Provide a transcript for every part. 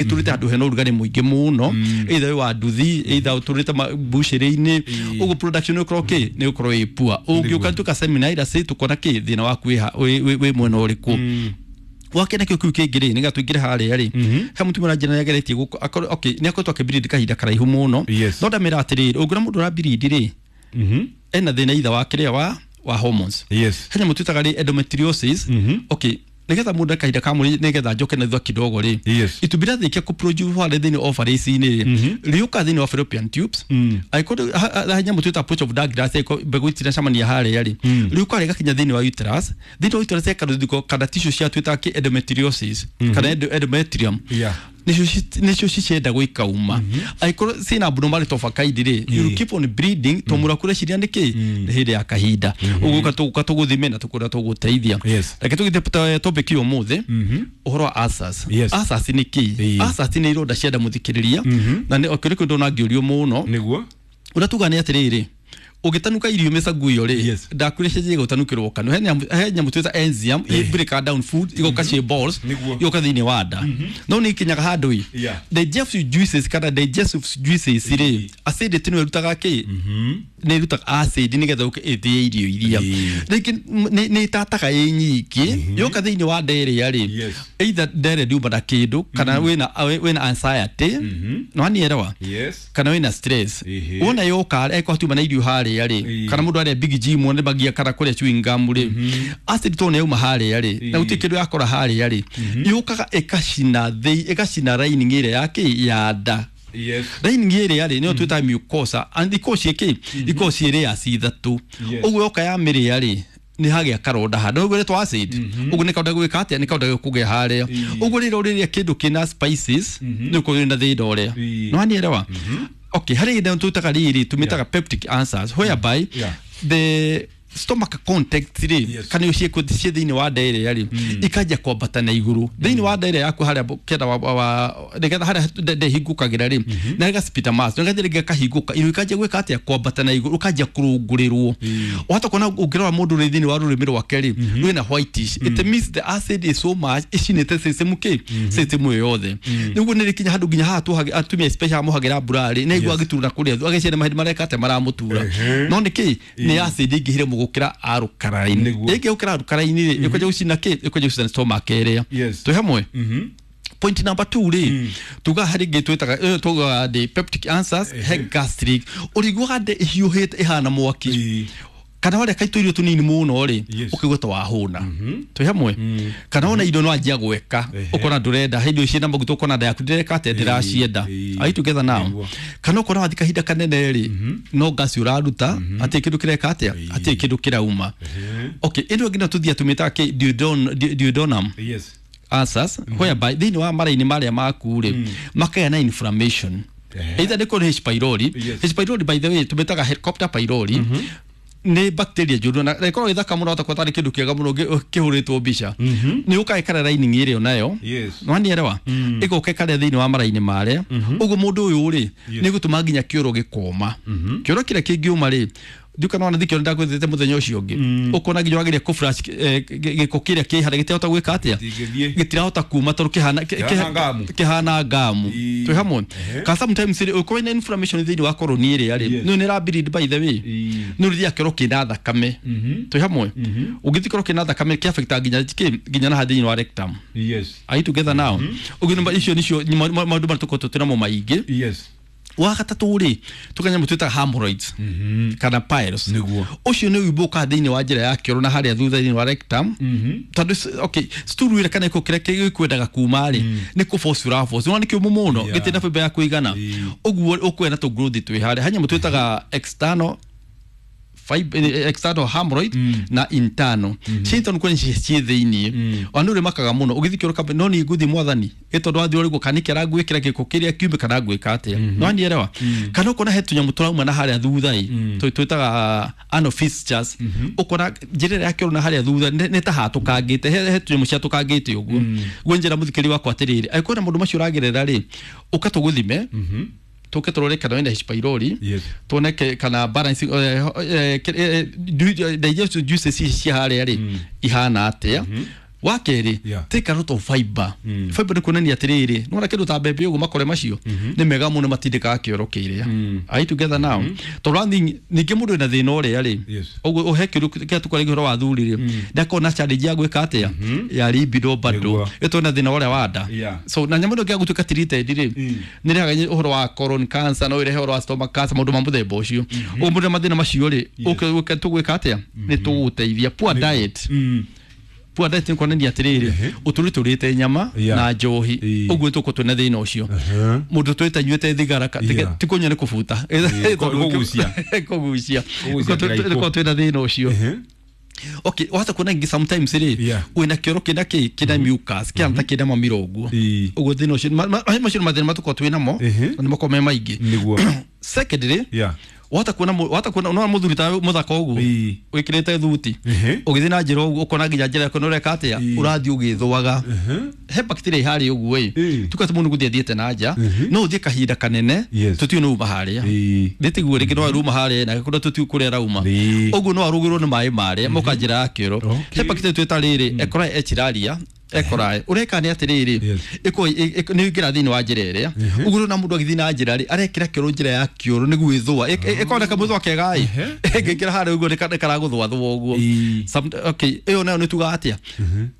Ĩtũrĩte handũ hena ũrugarĩ mũingĩ mũno, either wĩ wa nduthi, either ũtũrĩte mbucĩrĩ-inĩ ũguo, production nĩ ũkorwo kĩ nĩ ũkorwo ĩ poor. Ũngĩũka tuka seminar tũkona kĩ thĩna waku wĩ mwena ũrĩkũ. Wake nakĩo kĩu kĩngĩ rĩ, nĩgetha tũingĩre harĩa rĩ, he mũtumia ũranjĩra nĩ ageretie gũkũ okay, nĩ akoretwo akĩbiridi kahinda karaihu mũno. No ndamĩra atĩrĩrĩ, ũngĩona mũndũ ũrabiridi rĩ, ena thĩna either wa kĩrĩa wa hormones. He nyamũ twĩtaga rĩ endometriosis. Okay, nĩgetha mũndũ kahinda ka mweri, nĩgetha njoke na thutha kidogo rĩ, itumbĩ rĩathĩkia kũproduce harĩa thĩinĩ ovaries-inĩ rĩ, rĩũka thĩinĩ wa fallopian tubes. Angĩkorwo he nyamũ twĩta pouch of Douglas, angĩkorwo mbegũ itinacemania harĩa rĩ, rĩũka rĩgakinya thĩinĩ wa uterus. Thĩinĩ wa uterus ĩkarũthiko kana tissue cia twĩtaga kĩ endometriosis kana endometrium. Nĩcio ciciendagwo ikauma. Angĩkorwo ciĩna abnormality of a kind rĩ, you will keep on bleeding to mũndũ akũreciria nĩ kĩ nĩ hĩndĩ ya kahinda ũguo tũgũka tũgũthime na tũkũrĩa tũgũteithia. Reke tũgĩte topic ĩyo ũmũthĩ, ũhoro wa ulcers. Ulcers nĩ kĩ? Ulcers nĩ ironda cia nda, mũthikĩrĩria, na nĩ okĩrĩ kĩndũ ndona ngĩũrio mũno. Ũrĩa tuga nĩ atĩrĩrĩ, ũgĩtanuka irio mĩcaguo rĩ, ndakwĩrĩcirie gũtanukĩrwo kanua, he nyamũ twĩta enzyme i break down food, igoka ciĩ balls, igoka thĩinĩ wa nda, no nĩ ikinyaga handũ ĩ digestive juices kana digestive juices rĩ, acidity nĩyo ĩrutaga kĩ nĩ ĩrutaga acid nĩgetha ũke ĩthĩe irio iria. Rĩngĩ nĩ ĩtataga ĩ nyingĩ, yoka thĩinĩ wa nda ĩrĩa rĩ, either nda ĩrĩa ndiuma na kĩndũ, kana wĩna anxiety, no anielewa? Yes. Kana wĩna stress. Wona yoka eko tuma na irio harĩa rĩ, kana mũndũ arĩa Big G mũno nĩ magia kana kũrĩa chewing gum rĩ, acid to nĩ yauma harĩa rĩ, na gũtirĩ kĩndũ yakora harĩa rĩ, yũkaga ĩkacina thĩ, ĩgacina lining ĩrĩa ya kĩ ya nda. Lining ĩrĩa rĩ, nĩyo twĩtaga mucosa, and ikoragwo ciĩ kĩ ikoragwo ciĩ layers ithatũ. Ũguo yoka ya mĩrĩa rĩ, nĩ hagĩa karonda handũ ũguo ĩretwo acid, ũguo nĩ karonda gwĩka atĩa, nĩ karonda gũkũgĩa harĩa. Ũguo rĩrĩa ũrĩrĩa kĩndũ kĩna spices, nĩ ũkorwo na thĩna ũrĩa. No anielewa? Okay, harĩ hĩndĩ twĩtaga rĩrĩ, tũmĩtaga peptic ulcers, whereby the stomach content rĩ, kana ciĩ thĩinĩ wa nda ĩrĩa rĩ, ikanjia kwambata na igũrũ thĩinĩ wa nda ĩrĩa yaku harĩa kĩanda wa nĩgetha harĩa nda ĩhingũkagĩra rĩ, na gĩgacipita mass, nĩgetha rĩngĩ gakahingũka, irio ikanjia gwĩka atĩa, kwambata na igũrũ, ũkanjia kũrũngũrĩrwo. Wahota kuona ũngĩrora mũndũ rĩ, thĩinĩ wa rũrĩmĩ rwake rĩ, rwĩna whitish. It means the acid is so much ĩcinĩte system kĩ system ĩyo yothe. Nĩguo nĩ rĩkinya handũ nginya haha atumia especially mohagĩra mbura rĩ, nĩ aigua agĩtura kũrĩa, ageciria mahĩndĩ mareka atĩa, maramũtura. No nĩ kĩ nĩ acid ĩingĩhire mũgũkĩra alkaline. Ĩngĩ gũkĩra alkaline rĩ, ĩkwanjia gũcina kĩ ĩkwanjia gũcina stomach ĩrĩa. Twĩ hamwe? Point number 2 rĩ, tuga harĩ ngĩ twĩtaga tugaga ndĩ peptic ulcers, he gastric, ũrĩiguaga ndĩ ĩhiũhĩte ĩhana mwaki, kana warĩa kaitũ irio tũnini mũno rĩ, ũkaigua ta wahũna. Twĩ hamwe? Kana ona irio no anjia gweka, ũkona ndũrenda he irio ciĩna maguta, ũkona nda yaku ndĩreka atĩa, ndĩracienda. Are you together now? Nĩguo. Kana ũkona wathi kahinda kanene rĩ, no ngasi ũraruta, hatirĩ kĩndũ kĩreka atĩa, hatirĩ kĩndũ kĩrauma. Okay, ĩno ĩngĩ no tũthiĩ tũmĩtaga kĩ duodenum ulcers, whereby thĩinĩ wa mara-inĩ marĩa maku rĩ, makagĩa na inflammation, either nĩ kũrĩ H pylori. H pylori, by the way, tũmĩtaga Helicobacter pylori, nĩ bacteria njũru na ĩkoragwo ĩthaka mũno, hata tarĩ kĩndũ kĩega mũno kĩhũrĩtwo mbica. Nĩ ũkaga ĩkarĩa lining ĩrĩa onayo. Nĩwanielewa? Ĩgoka ĩkarĩa thĩinĩ wa mara-inĩ marĩa. Ũguo mũndũ ũyũ rĩ, nĩ gũtũma nginya kĩoro gĩkoma. Kĩoro kĩrĩa kĩngĩũma rĩ, ndiũka nona thikio ndakwĩthĩte mũthenya ũcio ũngĩ, ũkona nginya wagĩrĩire kũ-flush gĩko kĩrĩa kĩ harĩa gĩtirahota gwĩka atĩa, Gĩtingĩthiĩ. Gĩtirahota kuma tondũ kĩhana Kĩhana ngamu. Kĩhana ngamu. Twĩ hamwe? Ka sometimes rĩ, ũkorwo ina inflammation thĩinĩ wa colon ĩrĩa rĩ, nĩ nĩ bleed, by the way. Nĩ ũrĩthiaga kĩoro kĩna thakame. Twĩ hamwe? Ũngĩthiĩ kĩoro kĩna thakame, kĩ nginya kĩ nginya na thĩinĩ wa rectum. Are you together now? Ũguo icio nicio maũndũ marĩa tũkoretwo twĩnamo maingĩ. Wa gatatũ rĩ, tũkanyamũ twĩtaga hemorrhoids kana piles. Ũcio nĩ ũimbo ũkaga thĩinĩ wa njĩra ya kĩoro na harĩa thutha thĩinĩ wa rectum, tondũ okay, stool ĩrĩa kana gĩko kĩrĩa gĩkwendaga kuma rĩ, nĩ kũ force ũra force, nĩ kĩũmũ mũno, gĩtirĩ na fiber ya kũigana. Ũguo ũkũgĩa na tũ growth twĩ harĩa. He nyamũ twĩtaga external external hemorrhoid na internal. Cia internal kwene ciĩ thĩinĩ, ona nĩ ũrĩmakaga mũno ũgĩthiĩ kĩoro kamba, no nĩ ngũthiĩ mwathani ĩ tondũ wathiĩ ũrĩguo kana nĩkĩ arangwĩkĩra gĩko kĩrĩa kiume kana ngwĩka atĩa. No anielewa? Kana ũkona he tũnyamũ tũrauma na harĩa thutha ĩ, twĩtaga anal fissures. Ũkona njĩra ĩrĩa ya kĩoro na harĩa thutha nĩ ta hatũkangĩte, he tũnyamũ ciatũkangĩte ũguo. Guo njĩra mũthikĩri wakwa atĩrĩrĩ, angĩkorwo na maũndũ macio ũragerera rĩ, ũka tũgũthime, tũke tũrore kana wĩna H pylori, tuone kana balance digestive juices ici cia harĩa rĩ ihana atĩa. Wa kerĩ, Yeah. take a lot of fiber. Fiber nĩ kuonania atĩrĩrĩ, nĩwona kĩndũ ta mbembe ũguo, makore macio nĩ mega mũno, matindĩkaga kĩoro kĩrĩa. Are you together now? Tondũ one thing, ningĩ mũndũ wĩna thĩna ũrĩa rĩ, Yes. ũguo ũhe kĩũria kĩrĩa tũkwaragia ũhoro wa athuri rĩ, ndakorwo na challenge ya gwĩka atĩa ya libido bado, Nĩguo. ĩtũ na thĩna ũrĩa wa nda. Yeah. So na nyamũ ĩno ĩngĩaga gũtuĩka treated rĩ, nĩ ĩrehaga ũhoro wa colon cancer, no ĩrehe ũhoro wa stomach cancer, maũndũ ma mũthemba ũcio. Ũguo mũndũ na mathĩna macio rĩ, ũke tũgwĩka atĩa, nĩ tũgũgũteithia. Poor diet. Poor diet nĩ kuonania atĩrĩrĩ, ũtũrĩte ũrĩte nyama Yeah. na njohi, Ĩĩ. ũguo tũkũ twĩna thĩna ũcio. Mũndũ tũrĩte anyuĩte thigara Yeah. ti kũnyua, nĩ kũbuta. Kũgucia. Kũgucia. Kũgucia kĩraikũ. Tũkorwo twĩna thĩna ũcio. Okay, wahota kuona ingĩ sometimes rĩ, Yeah. wĩna kĩoro kĩna kĩ kĩna mucus kĩhana ta kĩna mamira ũguo. Ĩĩ. Ũguo thĩna ũcio, macio nĩ mathĩna matũkorwo twĩ namo, na nĩ makorwo me maingĩ. Nĩguo. Secondly, Yeah. wahota kuona wahota kuona no mũthuri ta mũthaka ũguo, Ĩĩ. wĩkĩrĩte thuti, ũgĩthiĩ na njĩra ũguo, ũkona nginya njĩra yaku nĩ ũreka atĩa, ũrathiĩ ũgĩthũaga. He bacteria harĩa ũguo ĩ, tuka atĩ mũndũ gũthiĩ athiĩte na nja, no ũthiĩ kahinda kanene, tũtiũĩ nĩ uma harĩa. Nĩ tiguo rĩngĩ no aruma harĩa na kũrĩa tũtiũĩ kũrĩa arauma. Ũguo no arugĩrwo nĩ maĩ marĩa moka njĩra ya kĩoro. He bacteria twĩta rĩrĩ E. coli, Escherichia E. coli. Ũreka nĩ atĩrĩrĩ, nĩ ũingĩra thĩinĩ wa njĩra ĩrĩa ũguo, na mũndũ agĩthiĩ na njĩra rĩ, arekĩra kĩoro njĩra ya kĩoro nĩguo ĩthũa, ĩkoneka mũthũa kega ĩ, ĩngĩingĩra harĩa ũguo nĩ karagũthũathũa ũguo. Okay, ĩyo nayo nĩ tugaga atĩa,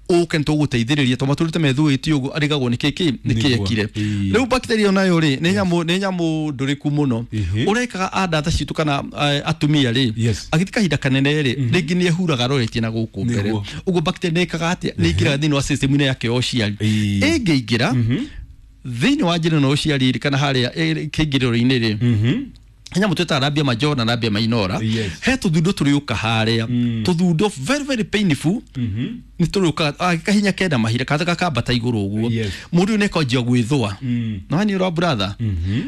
ũke nĩ tũgũteithĩrĩria tondũ matũrĩte methũĩtie ũguo, arigagwo nĩ kĩ nĩ kĩ ekire. Rĩu bacteria ĩyo nayo rĩ, nĩ nyamũ ndũrĩku mũno. Ũrekaga andata citũ kana atumia rĩ, agĩthi kahinda kanene rĩ, rĩngĩ nĩ ehuraga aroretie na gũkũ mbere. Ũguo bacteria nĩ ĩkaga atĩa, nĩ ĩingĩraga thĩinĩ wa system-inĩ yake ya ũciari. Ĩngĩingĩra thĩinĩ wa njĩra ĩno ya ũciari rĩ, kana harĩa kĩingĩrĩro-inĩ rĩ, nyamũ twĩtaga labia majora na labia minora, he tũthundo tũrĩũka harĩa, tũthundo very very painful, nĩ tũrĩũkaga kahinya kenda mahinda kata gakambata igũrũ ũguo. Mũndũ ũyũ nĩakanjia gwĩthũa, no hani ũrĩa brother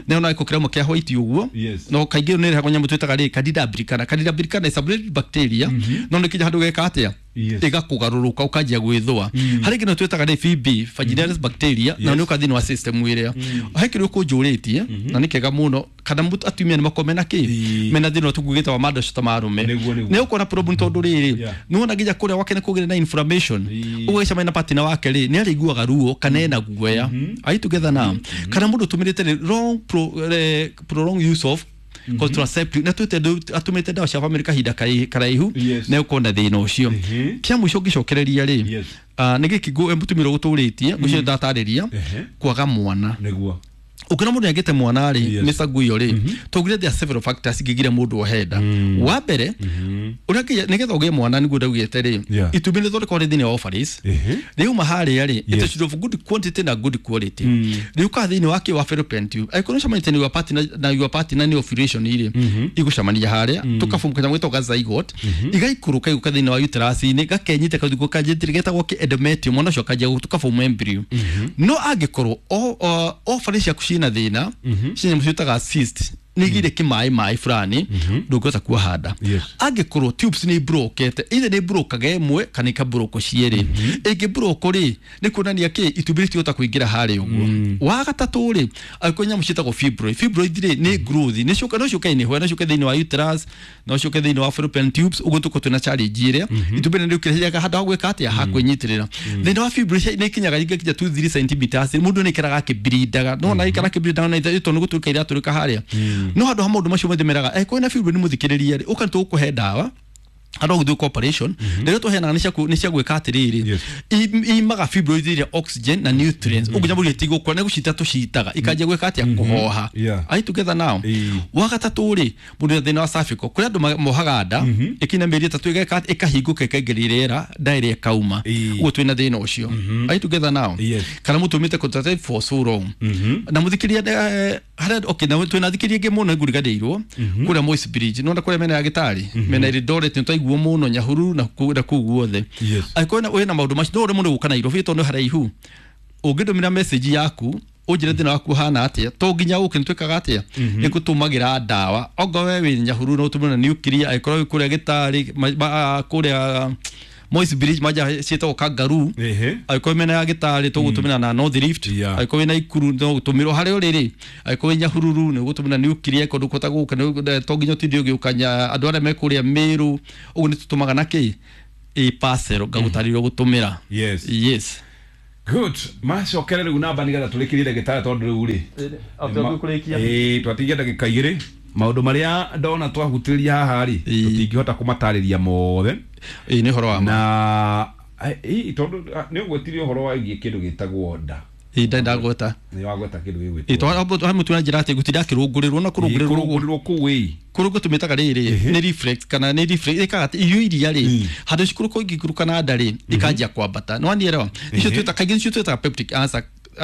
nĩ ona gĩko kĩrauma kĩa white ũguo. No kaingĩ nĩ ĩrehagwo nyamũ twĩtaga rĩ Candida albicans. Candida albicans is a blood bacteria, no nĩ kinya handũ geka atĩa, ĩgakũgarũrũka ũkanjia gwĩthũa. Harĩ kĩndũ twĩtaga rĩ VB, vaginalis bacteria, na nĩ ũka thĩinĩ wa system ĩrĩa. He kĩrĩa ũkũnjũrĩtie na nĩ kĩega mũno, kana atumia nĩ makorwo mena kĩ, mena thĩna ũrĩa tũkugĩte wa mandoco ta marume. Nĩ ũkuona problem tondũ rĩrĩ, nĩ wona nginya kũrĩa gwake nĩ kũgĩre na inflammation. Ũguo agĩcemania na partner wake rĩ, nĩ arĩiguaga ruo kana ena guoya. Are you together now? Kana mũndũ ũtũmĩrĩte rĩ long prolonged use of contraceptive, na twĩte atũmĩte ndawa cia family kahinda karaihu, nĩ ũkuona thĩna ũcio. Kĩa mũico ngĩcokereria rĩ, nĩ gĩkĩ mũtumia ũrĩa ũgũtũrĩtie ũcio ndatarĩria, kwaga mwana. Ũkĩona mũndũ nĩagĩte mwana rĩ, Mr. Guyo rĩ, tũngire there are several factors ingĩgiria mũndũ ohe nda. Wa mbere, ũrĩa nĩgetha ũgĩe mwana, nĩguo ndaugĩte rĩ, itumbĩ nĩthondekagwo rĩ thĩinĩ wa ovaries. Rĩuma harĩa rĩ, it should of good quantity na good quality, rĩũkaga thĩinĩ wa kĩ wa fallopian tube. Angĩkorwo nĩũcemanĩtie na your partner, na your partner nĩ ovulation rĩ, igũcemania harĩa tũkaform kanyamũ getagwo ga zygote, igaikũrũka igũka thĩinĩ wa uterus-inĩ, gakenyita kaũndũ kanjĩtĩrĩ getagwo kĩ endometrium, mwana ũcio akanjia tũkaform embryo. No angĩkorwo ovaries ciaku ciĩna thĩna, ciĩ nyamũ ciĩtaga cyst, nĩ igire kĩmaĩ maĩ fulani, ndũngĩhota kuoha nda. Angĩkorwo tubes nĩ ibrokete, either nĩ ibrokaga ĩmwe kana ikabroko cierĩ, ĩngĩbroko rĩ, nĩ kuonania kĩ itumbĩ rĩtingĩhota kũingĩra harĩa ũguo. Wa gatatũ rĩ, angĩkorwo nyamũ ciĩtagwo fibroid. Fibroid rĩ, nĩ growth, nĩ ciũka, no ciũke anywhere, no ciũke thĩinĩ wa uterus, no ciũke thĩinĩ wa fallopian tubes. Ũguo tũkorwo twĩna challenge ĩrĩa itumbĩ nĩ rĩũkĩrĩria handũ ha gwĩka atĩa, ha kwĩnyitĩrĩra. Thĩna wa fibroid nĩ ikinyaga ingĩkinya 2 3 centimeters, mũndũ nĩ ikaraga akĩblindaga, no na ikara akĩblindaga na tondũ nĩ gũtũrĩka iratũrĩka harĩa. No handũ ha maũndũ macio mothe meraga angĩkorwo wĩna fibroid, mũthikĩrĩria rĩ, ũka nĩtũgũkũhe ndawa handũ ha gũthiĩ gwĩka operation. Rĩrĩa tũheanaga nĩ cia gwĩka atĩrĩrĩ, imaga fibroid iria oxygen na nutrients, ũguo nyamũ iria itigũkũra, nĩ gũcita tũcitaga, ikanjia gwĩka atĩa, kũhoha. Are you together now? Ĩĩ. Wa gatatũ rĩ, mũndũ wĩna thĩna wa cervical, kũrĩ andũ mohaga nda ĩkinya mĩeri 3 ĩgeka atĩa, ĩkahingũka, ĩkaingĩria rĩera, nda ĩrĩa ĩkauma. Ũguo twĩna thĩna ũcio. Are you together now? Yes. Kana mũtũmĩte contraceptive for so long na mũthikĩria, harĩa, okay, na twĩna thikĩria ĩngĩ mũno nguriganĩirwo kũrĩa Moi's Bridge, nona kũrĩa mena ya gĩtarĩ mena Eldoret, nĩ twaiguo mũno Nyahururu na kũu guothe. Angĩkorwo wĩna maũndũ macio, no ũremwo nĩ gũka Nairobi tondũ nĩ haraihu, ũngĩndũmĩra message yaku ũnjĩre thĩna waku ũhana atĩa, to nginya ũke, nĩ twĩkaga atĩa, nĩ ngũtũmagĩra ndawa. Ongorwo we wĩ Nyahururu no ũtũmĩre na nuclear, angĩkorwo wĩ kũrĩa gĩtarĩ kũrĩa Moi's Bridge manja ciĩtagwo Kangaroo, angĩkorwo mena ya gĩtarĩ tũgũtũmĩra na North Rift, angĩkorwo wĩna Ikuru no gũtũmĩrwo harĩa ũrĩ rĩ, angĩkorwo wĩ Nyahururu nĩ ũgũtũmĩra nuclear, kũndũ kũta gũka to nginya ũtinde ũgĩũka andũ arĩa me kũrĩa Meru, ũguo nĩ tũtũmaga na kĩ Ĩ parcel ngagũtarĩria gũtũmĩra. Yes. Yes. Good. Macokere rĩu namba nĩgetha tũrĩkĩrie ndagĩtarĩ tondũ rĩu rĩ ĩĩ twatigia ndagĩka igĩrĩ maũndũ marĩa ndona twahutĩrĩria haha rĩ Ĩĩ. tũtingĩhota kũmatarĩria mothe. Ĩ nĩ ũhoro wa ma. Na ĩ tondũ nĩ ũgwetirie ũhoro wĩgiĩ kĩndũ gĩtagwo nda. Ĩ nda ndagweta. Nĩ wagweta kĩndũ Ĩ gĩgwĩtwo twamũtua na njĩra atĩ gũtinda akĩrũngũrĩrwo na kũrũngũrĩrwo kũrũngũrĩrwo kũu ĩ kũrũngũ tũmĩtaga rĩrĩ nĩ reflex kana nĩ reflex ĩkaga atĩ irio iria rĩ handũ cikũrũka ingĩikũrũka na nda rĩ ikanjia kwambata nĩ wanielewa. Icio twĩta kaingĩ nicio twĩtaga peptic ulcer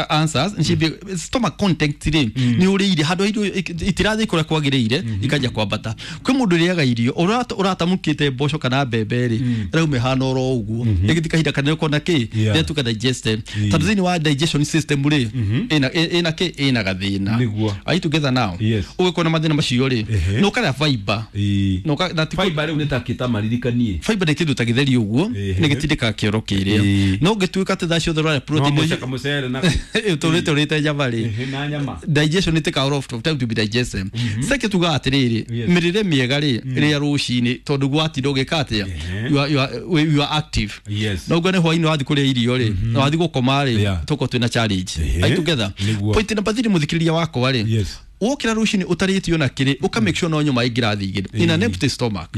answers nĩciambia stomach content rĩ nĩ ũrĩire handũ ha irio itirathiĩ kũrĩa kwagĩrĩire ikanjia kwambata. Kwĩ mũndũ ũrĩaga irio ũratamũkĩte mboco kana mbembe rĩ ĩrauma ĩhana oro ũguo ĩgĩthiĩ kahinda kanene ũkona kĩ Yeah. ĩratuĩka digested tondũ thĩinĩ wa digestion system rĩ ĩna kĩ ĩna gathĩna. Nĩguo. Are you together now? Yes. Ũgĩkorwo na mathĩna macio rĩ Ehe. nĩ ũkarĩa fiber. Ĩĩ. Na ũka- na ti Fiber rĩu nĩ ta kĩta maririkanie. Fiber nĩ kĩndũ ta gĩtheri ũguo Ehe. nĩ gĩtindĩkaga kĩoro kĩrĩa Ĩĩ. no ũngĩtuĩka atĩ thaa ciothe ũrarĩa No protein mũcaka mũcere na ũtũrĩte ũrĩte nyama rĩ Ehe, na nyama. Digestion it take a lot of time to be digested. Second tuga atiriri Yes. mirire miega ri ria rucini tondu gwatinda ugika atia you are active. Yes. No ngone hwaini wathi kuria irio ri na wathi gukoma ri Yeah. tuko twina challenge. Ehe. Are you together? Nĩguo. Point number 3 muthikiriria wakwa ri Yes. wokira rucini utarĩtio na kĩrĩ uka make sure no nyua maĩ ngirathi igĩrĩ in an empty stomach.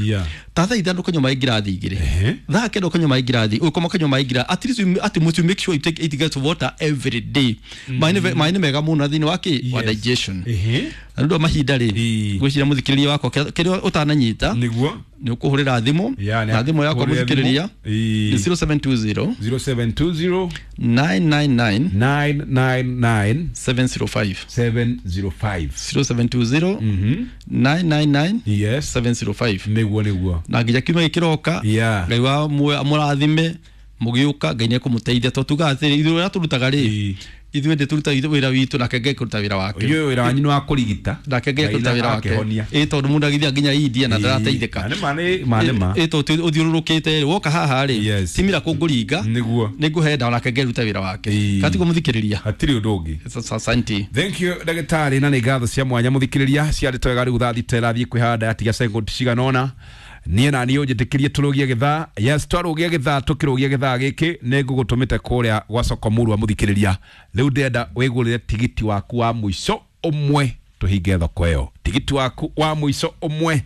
Ta thaa ithano ũkanyua maĩ ngirathi igĩrĩ, Ehe. thaa kenda ũkanyua maĩ ngirathi, ũkoma ũkanyua maĩ ngirathi at least you, at most you make sure you take 8 glass of water every day. Maĩ nĩ maĩ nĩ mega mũno thĩinĩ wa kĩ wa Yes. digestion. Ehe. Na nĩ ũndũ wa mahinda rĩ Ĩĩ. ngwĩciria mũthikĩrĩria wakwa kĩrĩa ũtananyita Nĩguo. nĩ ũkũhũrĩra thimũ Yeah, na thimũ yakwa kũhũrĩra mũthikĩrĩria thimũ. Ĩĩ. nĩ 0720 0720 999 999 705. 705. 0720 999 Yes. 705. Nĩguo nĩguo. Na nginya kiumia gĩkĩroka Yeah. Ngai wa muoyo amũrathime mũgĩũka Ngai nĩekũmũteithia tondũ tugaga atĩrĩ ithuĩ ũrĩa tũrutaga rĩ Ĩĩ. ithuĩ ndĩ tũrutaga wĩra witũ nake Ngai kũruta wĩra wake. Inyuĩ wĩra wanyu nĩ wa kũrigita. Nake Ngai kũruta wĩra wake. Akĩhonia. Ĩ tondũ mũndũ agĩthiĩ nginya India na ndarateithĩka. Nĩ ma nĩ ma nĩ ma. Ĩ tondũ ũthiũrũrũkĩte rĩ woka haha rĩ Yes. timira kũngũringa Nĩguo. nĩ ngũhe ndawa nake Ngai ruta wĩra wake. Ĩĩ. Katiguo mũthikĩrĩria. Hatirĩ ũndũ ũngĩ. Asante. Thank you ndagĩtarĩ na nĩ ngatho cia mwanya mũthikĩrĩria ciarĩ twega rĩu thaa thita ĩrathiĩ kwĩhanda yatiga sekondi cigana ũna niĩ na niĩ ũnjĩtĩkĩrie tũrũgie gĩthaa. Yes, twarũgia gĩthaa tũkĩrũgia gĩthaa gĩkĩ nĩ ngũgũtũmĩte kũrĩa gwa soko mũrua mũthikĩrĩria rĩu ndĩrenda wĩgũrĩre tigiti waku wa mũico ũmwe tũhinge thoko ĩyo tigiti waku wa mũico ũmwe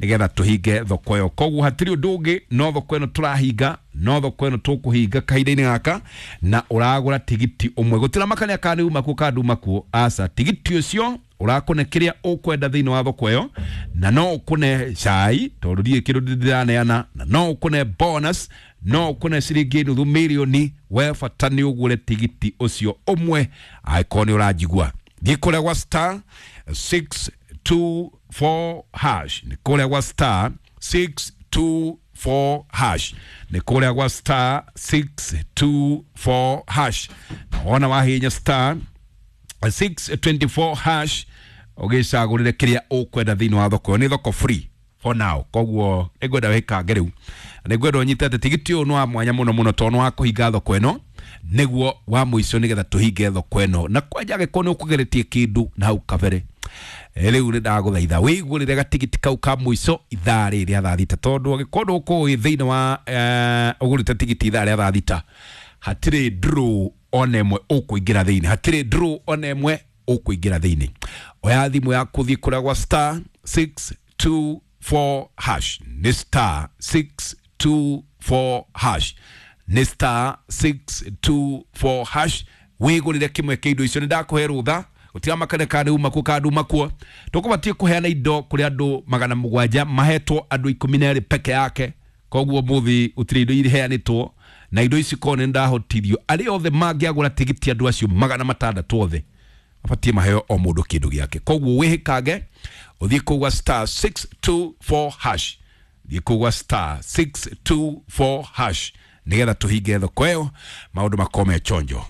nĩgetha tũhinge thoko ĩyo koguo hatirĩ ũndũ ũngĩ no thoko ĩno tũrahinga no thoko ĩno tũkũhinga kahinda-inĩ gaka na ũragũra tigiti ũmwe gũtiramakania kana nĩ uma kuo kana nduma kuo aca tigiti ũcio ũrakũne kĩrĩa ũkwenda thĩinĩ wa thoko ĩyo na no ũkũne cai tondũ ndiĩ kĩndũ ndĩraneana na no ũkũne bonus no ũkũne ciringi nuthu mirioni we bata nĩ ũgũre tigiti ũcio ũmwe angĩkorwo nĩ ũranjigua thiĩ kũrĩa gwa star 624 hash nĩ kũrĩa gwa star 624 hash nĩ kũrĩa gwa star 624 hash na wona wahihinya star 624 hash ũgĩcagũrĩre kĩrĩa ũkwenda thĩinĩ wa thoko ĩyo nĩ thoko free for now koguo nĩngwenda wĩkange rĩu na nĩngwenda ũnyite atĩ tigiti ũyũ nĩ wa mwanya mũno mũno tondũ nĩ wa kũhinga thoko ĩno nĩguo wa mũico nĩgetha tũhinge thoko ĩno na kwanja angĩkorwo nĩ ũkũgeretie kĩndũ na hau kabere rĩu nĩ ndagũthaitha wĩgũrĩre gatigiti kau ka mũico ithaa rĩrĩ rĩa thaa thita tondũ angĩkorwo ndũkũĩ thĩinĩ wa ũgũrĩte tigiti ithaa rĩa thaa thita hatirĩ draw ona ĩmwe ũkũingĩra thĩinĩ hatirĩ draw ona ĩmwe ũkũingĩra thĩinĩ oya thimũ yaku thiĩ kũrĩa gwa star 624 hash nĩ star 624 hash nĩ star 624 hash wĩgũrĩre kĩmwe kĩa indo icio nĩ ndakũhe rũtha gũtiramakania kana nĩ uma kuo kana nduma kuo tũkũbatiĩ kũheana indo kũrĩ andũ 700 mahetwo andũ 12 peke yake koguo mũthĩ gũtirĩ indo iheanĩtwo na indo ici korwo nĩ ndahotithio arĩa othe mangĩagũra tigiti andũ acio 600 othe mabatiĩ maheo o mũndũ kĩndũ gĩake koguo wĩhĩkange ũthiĩ kũu gwa star 624 hash thiĩ kũu gwa star 624 hash nĩgetha tũhinge thoko ĩyo maũndũ makorwo me chonjo.